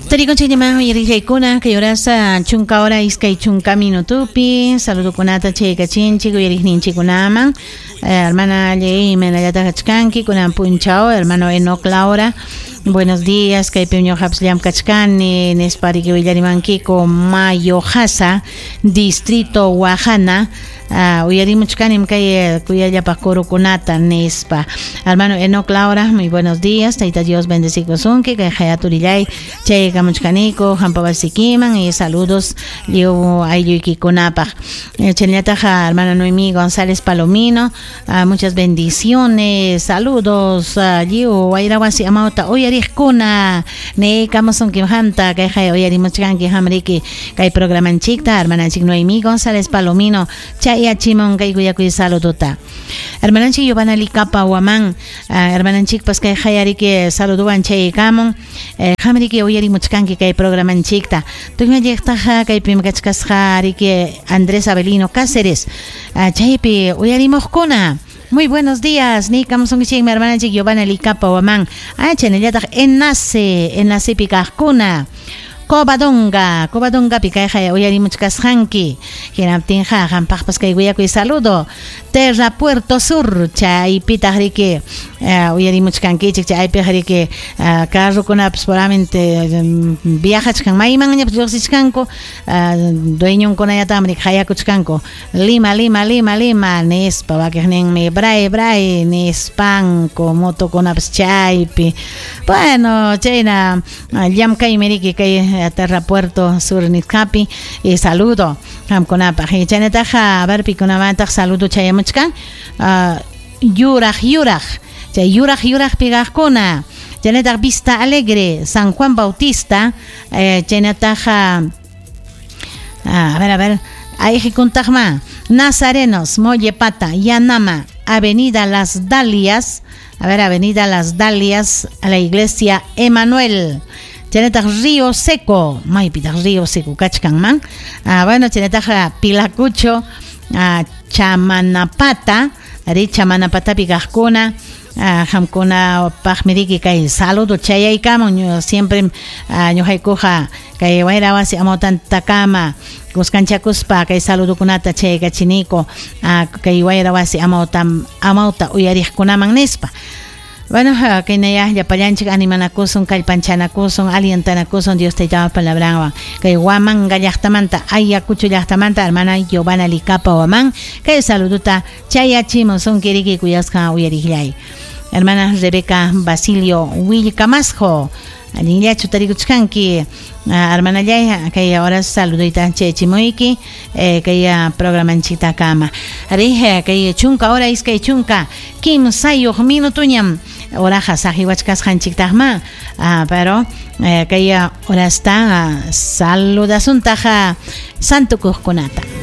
Tarikunchikñamá uyariqllaykuna kay horasa chunka hora iskay chunka minutupi saludokunata chaykachinchik uyariqninchikkunaman hermana Ley imaynallataq kachkanki kunan punchaw hermano Enoc Laura buenos días kaypim ñuqapas llamkachkani nispa riki willarimankiku Mayo Hasa distrito Wajana uyarimuchkanim kay kuyallapaq kurukunata nispa hermano Enoc Laura muy buenos días tayta Dios bendecikusunki kay hayaturillay chaykamuchkaniku hampa wasikiman y saludos lliw aylluykikunapaq chaynallataq hermana Noemí González Palomino muchas bendiciones saludos lliw wayra wasi amawta uyariqkuna niykamusunkim qamta kay hay uyarimuchkanki qamriki kay programanchikta hermananchik Noemí González Palomino chayachimun kay kuyakuy saludota hermananchik Giovanna Licapa Huamán hermananchikpas kay hayariki saludowan chaykamun qamriki uyarimuchkanki kay programanchikta tukñalliqtaqa kaypim kachkasqa riki Andrés Avelino Cáceres chaypi uyarimuqkuna muy buenos días niykamusunkichikmi hermananchik Giovanna Licapa Huamán chaynallataq enlace enlacepi kaqkuna Covadonga, Covadongapi kayqa uyarimuchkasqanki hinaptinqa qampaqpas kay kuyakuy saludo Terra Puerto Sur chaypitaq riki uyarimuchkankichik chaypiq riki carrokunapas puramente viajachkan maymanñapas lluqsichkanku dueñonkunallataqmi riki hayakuchkanku Lima, Lima, Lima, Lima nispa wakiqninmi bray, bray nispanku motokunapas chaypi bueno chayna llamkaymi riki kay Terra Puerto Sur nisqapi y saludo qamkunapaq chaynataqa a ver pikunamantaq saludo chayamuchkan yuraq yuraq chay yuraq yuraqpi kaqkuna chaynataq Vista Alegre San Juan Bautista chaynataqa a ver ayqikuntaqma Nazarenos Mollepata Yanama Avenida Las Dalias a ver Avenida Las Dalias a la Iglesia Emanuel chaynataq Río Seco maypitaq Río Seco kachkanman bueno chaynataq Pilacucho Chamanapata ari Chamanapatapi kaqkuna qamkunapaqmi riki kay saludo chayaykamun siempre ñuqaykuqa kay wayra wasi amawtantakama kuskanchakuspa kay saludokunata chaykachiniku kay wayra wasi amawta uyariqkunaman nispa. Bueno, kaynaya llapallanchik animanakusun, kallpanchanakusun, alientanakusun Dios taytapa palabranwan. Kay Huamanga llaqtamanta, Ayacucho llaqtamanta, hermana Giovanna Licapa Huamán, kay saludota chayachimusunki riki kuyasqa uyariqllay. Hermana Rebeca Basilio Willcamasjo, allinllachu tarikuchkanki, hermanallay, kay ahora saludita chayachimuyki, kay programanchiktakama. Ari, kay chunka hora iskay chunka kimsayuq minutuñam horaqa saqiwachkasqanchiktaqma, pero kay horasta saludasuntaq santukuqkunata.